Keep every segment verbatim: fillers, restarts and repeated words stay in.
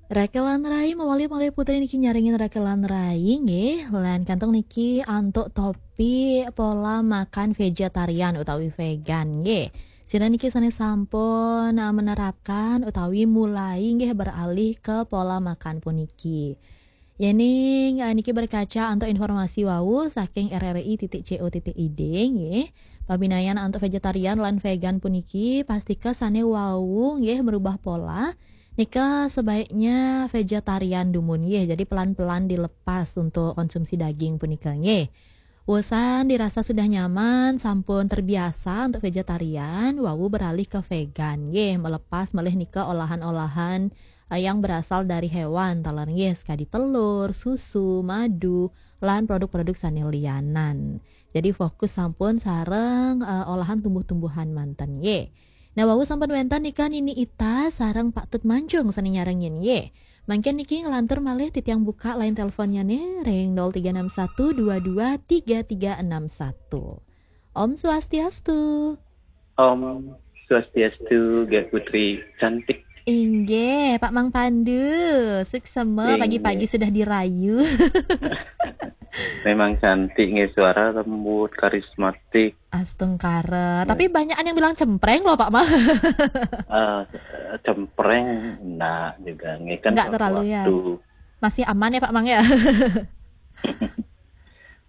Rakelan Rai, mawali malih Putri niki nyarengin Rakelan Rai nggih, lan kantun niki antuk topik pola makan vegetarian utawi vegan nggih. Sinten niki sane sampun, eh, menerapkan utawi mulai nggih beralih ke pola makan puniki. Yening, eh, niki berkaca antuk informasi wau saking R R I titik C O titik I D nggih. Pabinayan antuk vegetarian lan vegan puniki pastika sane wau nggih merubah pola. Nika sebaiknya vegetarian dumun nggih. Jadi pelan-pelan dilepas untuk konsumsi daging punika nggih. Wusan dirasa sudah nyaman, sampun terbiasa untuk vegetarian, wau beralih ke vegan nggih, melepas malih nika olahan-olahan, eh, yang berasal dari hewan, taler nggih, sekadi telur, susu, madu, lan produk-produk sane lianan. Jadi fokus sampun sareng, eh, olahan tumbuh-tumbuhan manten nggih. Nah, wau sampun wenten nika Nini Ita sareng Pak Tut Mancung sane nyarengin nggih. Mangkin niki nglantur malih titiang buka line teleponnya nih, ring nol tiga enam satu dua dua tiga tiga enam satu. Om Swastiastu. Om Swastiastu, Gek Putri cantik. Inggih, Pak Mang Pandu. Suksema. Inggih. Pagi-pagi sudah dirayu. Memang cantik nggih, suara lembut, karismatik. Astungkara. Ya. Tapi banyak yang bilang cempreng loh, Pak Mang. Eh, cempreng enggak juga nggih, kan. Enggak terlalu, ya. Waktu. Masih aman ya, Pak Mang, ya?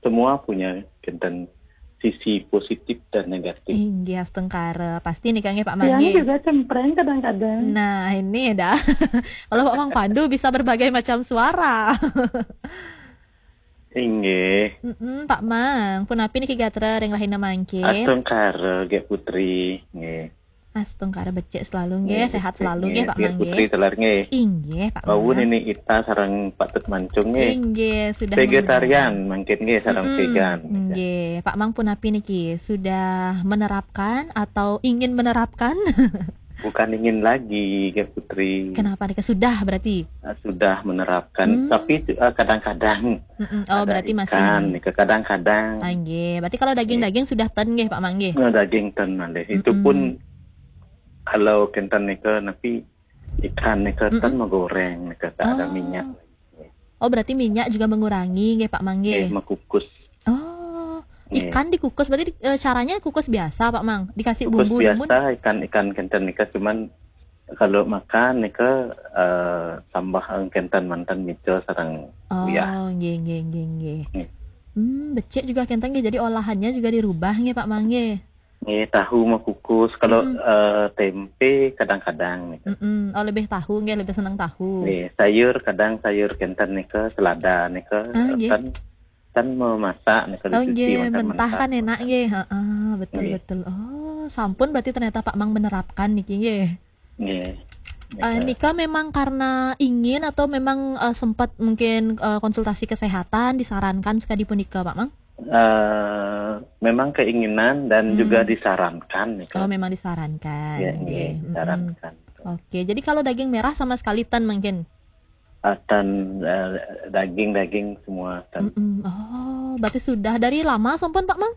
Semua punya kenten sisi positif dan negatif. Inggih, astungkara. Pasti nika nggih, Pak Mang, nggih. Yang juga cempreng kadang-kadang. Nah, ini dah. Kalau Pak Mang Pandu bisa berbagai macam suara. Inggih. Mm-mm, Pak Mang, punapi niki gatra ring rahina mangkin? Astungkara, Gek Putri, nggih. Astungkara becik selalu nggih, nggih, sehat becik selalu nggih, nggih, Pak Mang, Putri nggih. Telar nggih. Inggih, Pak Mang. Wau Nini Ita sareng Pak Tut Mancung nggih. Inggih, sudah. Vegetarian mengundang. Mungkin nggih, sareng, mm-mm, vegan. Nggih, Pak Mang punapi niki, sudah menerapkan atau ingin menerapkan? Bukan ingin lagi, Gek Putri. Kenapa nika? Sudah berarti? Ah, sudah menerapkan, hmm, tapi, eh, kadang-kadang. Mm-mm. Oh, ada berarti masih ikan, ini, nika kadang-kadang. Ah, nggih. Berarti kalau daging-daging, nggih, sudah ten nggih, Pak Mang, nggih? Nah, daging ten malih. Itu, mm-mm, pun kalau kenten nika, napi ikan nika, mm-mm, ten magoreng nika, tak ada minyak. Oh. Oh, berarti minyak juga mengurangi nggih, Pak Mang, nggih? Nggih, makukus. Oh, nggih. Ikan dikukus, berarti di-, eh, caranya kukus biasa, Pak Mang? Dikasih bumbu dumun? Kukus biasa, ikan, ikan kenten nika, cuman kalau makan nika, eh, tambah kenten manten mica sareng uyah. Oh, nggih, nggih, nggih, nggih. Nggih. Hmm, becik juga kenten nggih, jadi olahannya juga dirubah nggih, Pak Mang, nggih? Nggih, tahu makukus. Kalau, mm-mm, eh, tempe kadang-kadang gitu. Mm-mm. Oh, lebih tahu nggih, lebih seneng tahu. Nggih, sayur kadang sayur kenten nika, selada nika, ah, nggih, kan, kan memasak nika, oh, dicuci, nggih, makan mentah mentah, kan enak makan. Nggih. Heeh, betul, nggih, betul. Oh, sampun berarti ternyata Pak Mang menerapkan niki nggih. Nggih. Eh, nika memang karena ingin atau memang, eh, sempat mungkin, eh, konsultasi kesehatan disarankan sekadi punika, Pak Mang? Eh, memang keinginan dan, hmm, juga disarankan, ya, oh, kan? Memang disarankan. Ya, nggih, nggih, mm-mm, disarankan. Oke, jadi kalau daging merah sama sekali ten mungkin? Ah, ten, eh, daging-daging semua ten. Mm-mm. Oh, berarti sudah dari lama sampun, Pak Mang?